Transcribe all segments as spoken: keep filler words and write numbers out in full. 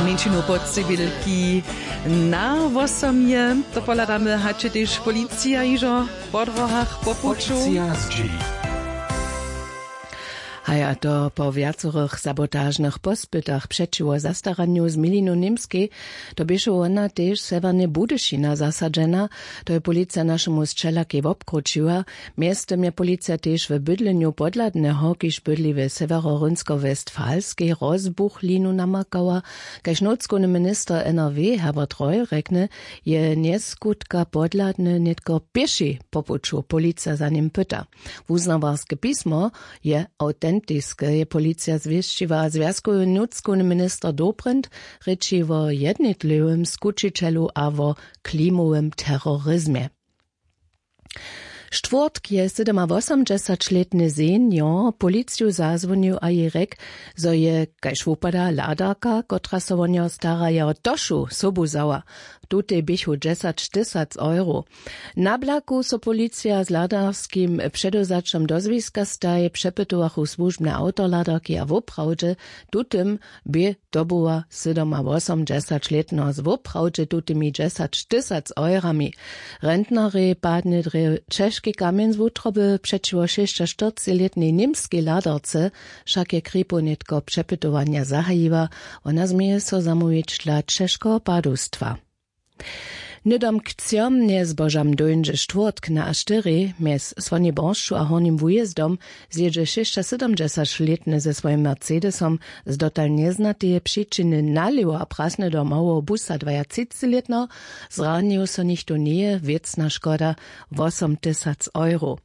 Mjeńšinu podscibilki na wosomje. To pohladamy, hač je tež policija hižo po dróhach po puću. Haj, a to po wjacorych sabotažnych pospytach přećiwo zastaranju z milinu němskej. To běše wona tež sewjerneje budyšina zasadźena. To je policija našemu sćelakej wobkrućiła. Mjeztym je policija tež w bydlenju podhladneho, kiž bydli w sewjeroryńsko-westfalskej, rozbuchlinu namakała. Kaž nutřkowny minister nrw herbert reul rjekny, je njeskutka podhladny nětko pěši po puću, policija za nim pyta. Wuznawarske pismo je awtentiske, je policija zwěsćiła. Zwjazkowy nutřkowny minister dobrindt rěči wo jednitlewym skućićelu a wo klimowym terorizmje. Štwórtk je sydomawosomdźesaćlětny senior policiju zazwonił a jej rjekł, zo je, kaž wupada, hladarka, kotra so wo njeho stara, jeho tošu sobu wzała. Tutej běchu dźesaćtysac euro. Na blaku so policija z hladarskim předewzaćom do zwiska staji. Přepytowachu słužbne awto hladarki a woprawdźe tutym bě dobyła sydomawosomdźesaćlětneho z woprawdźe tutymi dźesaćtysac eurami. Rentnarjej padnje drje ćežki kamjeń z wutroby přećiwo šěsćaštyrclětnej němskej hladarce. Wšak je kripow nětko přepytowanja zahajiła. Wona změje so zamołwić dla ćežkeho padowstwa. Hnydom k třom njezbožam dóńdźe štwórtk na a štyri mjez słonjej boršću a hornim wujězdom. Zjědźe šěsćasydomdźesaćlětny ze swojim mercedesom z dotal njeznateje přičiny nalěwo a prasny do małoho busa dwajatřicećlětneho. Zranił so nichtó njeje. Wěcna škoda wosomtysac euro.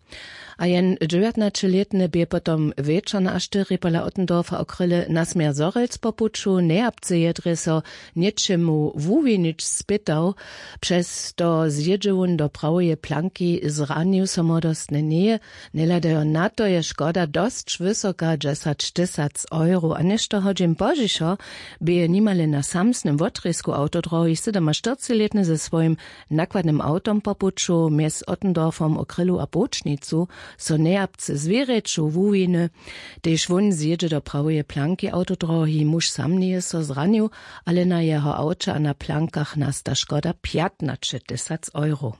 A jen dźewjatnaćelětny bě potom wječor na a štyri pola ottendorfa okryle na směr zhorjelc po puću. Njejapce je drje so něčemu wuwinić spytał. Přez to zjědźe wón do praweje planki. Zranił so młodostnje njeje. Njehladajo na to je škoda dosć wysoka, dźesaćtysac euro. A něšto hodźin pozdźišo bě je nimale na samsnym wotrězku awtodróhi sydomaštyrclětny ze swojim nakładnym awtom po puću mjez ottendorfom okrylu a połčnicu so njejapce zwěrjeću wuwiny. Tež wón zjědźe do praweje planki awtodróhi. Muž sam njeje so zranił, ale na jeho awće a na plankach nasta škoda pjatnaćetysac euro.